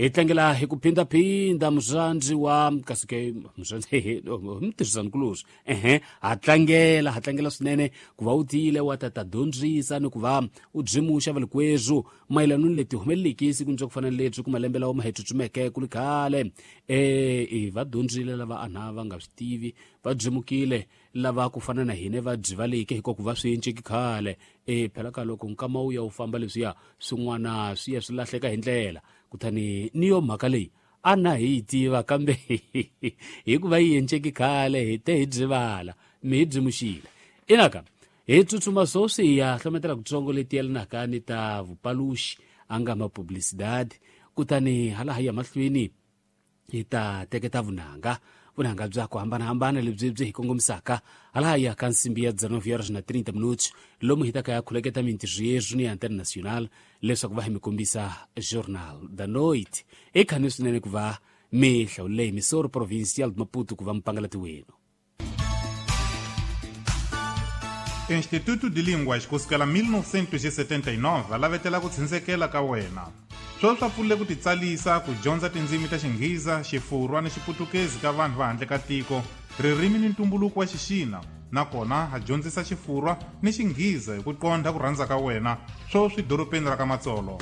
Hi tlangela hi ku phindaphinda murhandzi wa kasi ke murhandzi mutirhisani-kulorhi ehe ha tlangela ha tlangela swinene ku va u tiyile wa ta ta dyondzisa ni ku va u byimuxa valikwerhu mayelana ni leti humeleliki sikwini bya ku fana ni lebyi ku malembe lawa ma hi tsutsumeke ku ri khale e va dyondzile lava ana va nga swi tivi va byimukile lava ku fana na hina va byivaleke hikuva ku va swi enceki khale e phela ka loko nkama wu ya wu famba leswiya swin'wana swi ya swi lahleka hi ndlela kutani ni yo mhaka leyi a na hi yi tiva kambe hikuva yi enceki khale hi te hi byivala mi hi byimuxile inaka hi tsutsuma swoswi hi ya hlometela kutsongo leti yelanaka ni ta vupaluxi a nga ma publicidad kutani hala hi ya mahlweni hi ta teketa vunanga vunanga bya ku hambanahambana lebyi byi hi kongomisaka hala ya ka nsimbi ya 19 horas na 30 minutos lomu hi ta ka ya khuleketa mintirho yeswi ni ya international leswaku va hi mi kombisa Jornal da Noite. I khani swinene ku va mi hlawulele Emissora Provincial de Maputo ku va mpangalati wenu. Instituto de Línguas ku sukela 1979 va lavetela ku tshindzekela ka wena. Sweswi swa pfulile ku titsalisa ku dyondza tindzimi ta Xinghiza, Xifurwa ni Xiputukezi ka vanhu va handle ka tiko, ririmi ni ntumbuluko wa Xixina, nakona ha dyondzisa Xifurwa ni Xinghiza hi ku qondha ku rhandza ka wena, sweswi dorobeni ra ka Matsolo.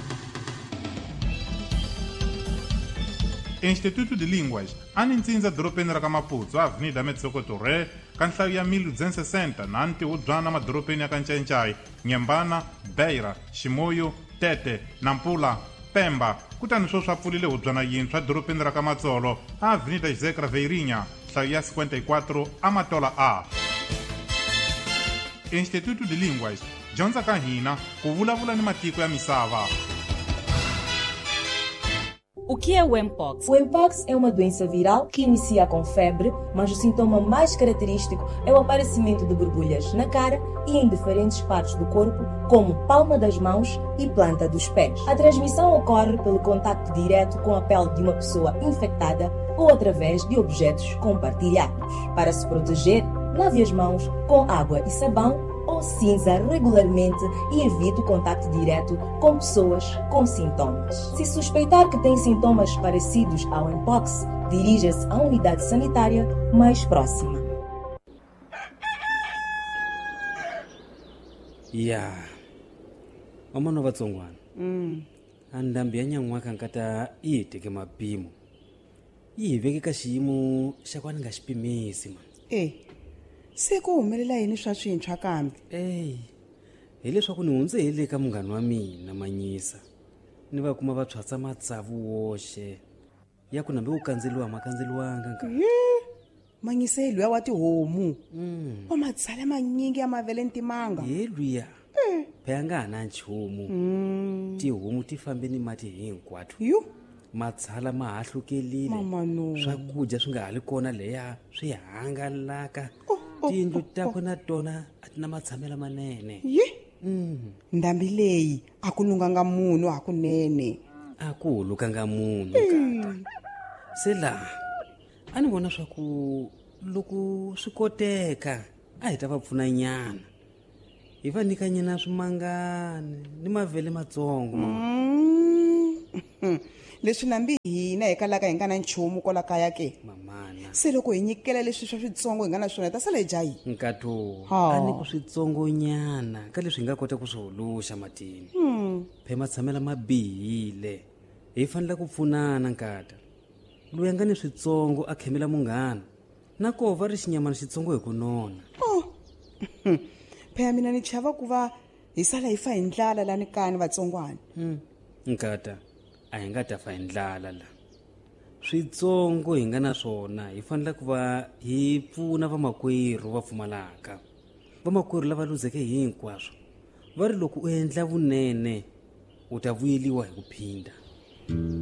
Instituto de Línguas a ni ntsindza dorobeni ra ka Maputsu, Avenida Metsoko Torre, ka nhlayo ya 1260 na ntihubyana madorobeni ya ka Ncayincai, Nyembana, Beira, Chimoio, Tete, Nampula, Pemba, kutani sweswi a pfulile hubyana yintshwa dorobeni ra ka Matsolo, a Avenida José Craveirinha, nhlayo ya 54, Amatola A. Instituto de Línguas, dyondza ka hina ku vulavula ni matiko ya misava. O que é o Mpox? O Mpox é uma doença viral que inicia com febre, mas o sintoma mais característico é o aparecimento de borbulhas na cara e em diferentes partes do corpo, como palma das mãos e planta dos pés. A transmissão ocorre pelo contacto direto com a pele de uma pessoa infectada ou através de objetos compartilhados. Para se proteger, lave as mãos com água e sabão ou cinza regularmente e evite o contato direto com pessoas com sintomas. Se suspeitar que tem sintomas parecidos ao Mpox, dirija-se à unidade sanitária mais próxima. Ya vamano vatsongwana a ndhambi ya nyan'waka nkata yi hi teke mapimo yi hi veke ka xiyimo xa ku a ni nga xi pimisi mani. E se ku humelela yini swa swintshwa kambe? Eyi, hileswaku ni hundze hi le ka munghana wa mina Manyisa ni va kuma va tshwatsa matsavu woxe ya ku nambe wu kandzeliwa ma kandzeliwanga nka. Yi Manyisa hi luya wa tihomu wa matshala manyingi ya mavele ni timanga. Ye luya phela nga ha na nchumu, tihomu ti fambe ni mati hinkwato. Yu matshala ma hahlukelile. Mama no. Swakudya swi nga ha li kona leya swi hangalaka. Oh, oh, tiyindlu oh, takwe na tona a ti na matshamelo manene. Yi ndhambi leyi a ku lunganga munhu hakunene. A ku hulukanga munhu kata se laha a ni vona swa ku loko swi koteka a hi ta va pfuna nyana hi va nyika nyana swimangani ni mavele matsongo mama. Leswi nambi hina hi kalaka hi nga na nchumu kwala kaya ke. Mamana. Se loko hi nyikela leswi swa switsongo hi nga na swona hi ta sala hi dya yini? Nkato Ha. a ni ku switsongonyana ka leswi hi nga kota ku swi huluxa matini phe matshamela ma bihile hi fanele ku pfunana nkata loyi a nga ni switsongo a khemela munghana na koho va ri xinyamana xitsongo hi ku nona. Oh. Phela mina ni chava ku va hi sala hi fa hi ndlala lani kani vatsongwana. Nkata a hi nga ta fa hi ndlala la switsongo hi nga na swona hi fanele ku va hi pfuna vamakwerhu va pfumalaka vamakwerhu lava luzeke hinkwaswo va ri loko u endla vunene u ta vuyeliwa hi ku phinda.